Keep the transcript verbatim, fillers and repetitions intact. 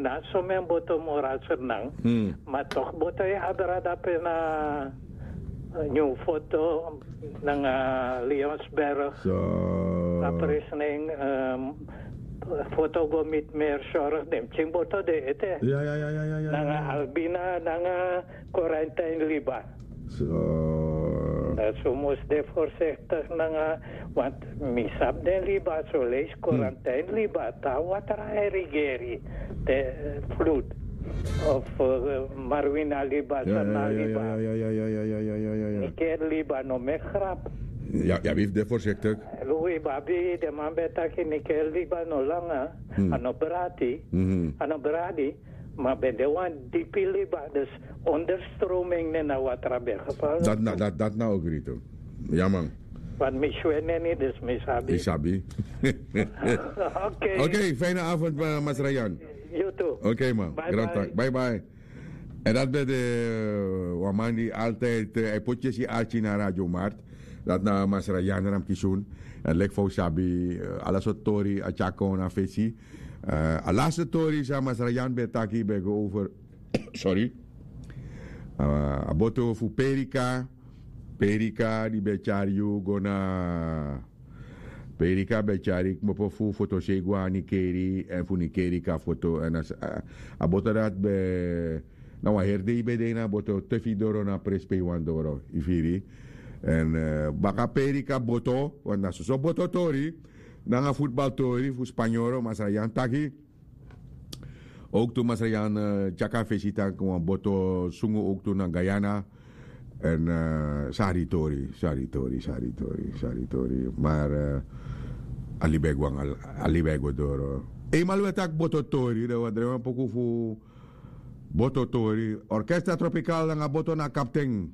Na so men boto moraser nan. Ma tok boto e abra dape na, eh, New Foto nanga Leonsberg. A presning, ehm, Foto go mit meer zorg dem ting boto de ete. Nanga Albina nanga Quarantine Liba. So. Dat so mus de voorzichtig nanga, want mi sabi den liba so leis Quarantine Liba ta watra e regeri de, eh, vloed of, eh, Marwina Liba, Sana Liba. Niker Liba no me grap. Ya, ya wif de voorzichtig. Lui babi de man betaki Niker Liba no langa, ano brati, ano bradi. Ma ben de wan dipi liba, dus onderstroming ne na watra ben geval. Dat na, dat, dat na ogri tu. Ja man. Want mi swe neni, dus mi sabi. Mi sabi. Oké. Oké, fijne avond, eh, Masra Jan. You too. Oké man. Bye bye. Bye bye. En dat ben de, eh, wan man die altijd, eh, hij put je si archie na Radio Mart. Dat na Masra Jan Ramkisun. En lek fo sabi, eh, ala so tori a tyako na fesi. Eh, a laatste tori san Masra Jan ben taki ben go over. Sorry. Eh, a boto fu Perika. Perika di ben tyari yu go na, Perika ben tyari kmopo fu foto sei go a Nikeri en fu Nikeri ka foto en a, a boto dat ben na wan heri dei ben de ini a boto te fu yu doro na presi pe yu wani doro, yu firi. En, eh, baka Perika boto, want na soso boto tori nanga futbaltori fu Spanyoro, Masra Jan taki. Ook tu Masra Jan, eh, tyaka fesi taki wan boto sungu ook tu na Guyana. En, eh, sari tori, sari tori, sari tori, sari tori. Maar, eh, a libi e go anga, a libi e go doro. Eenmaal we taki boto tori, dan we drai wan poku fu boto tori. Orkestra Tropical nanga boto na kapten.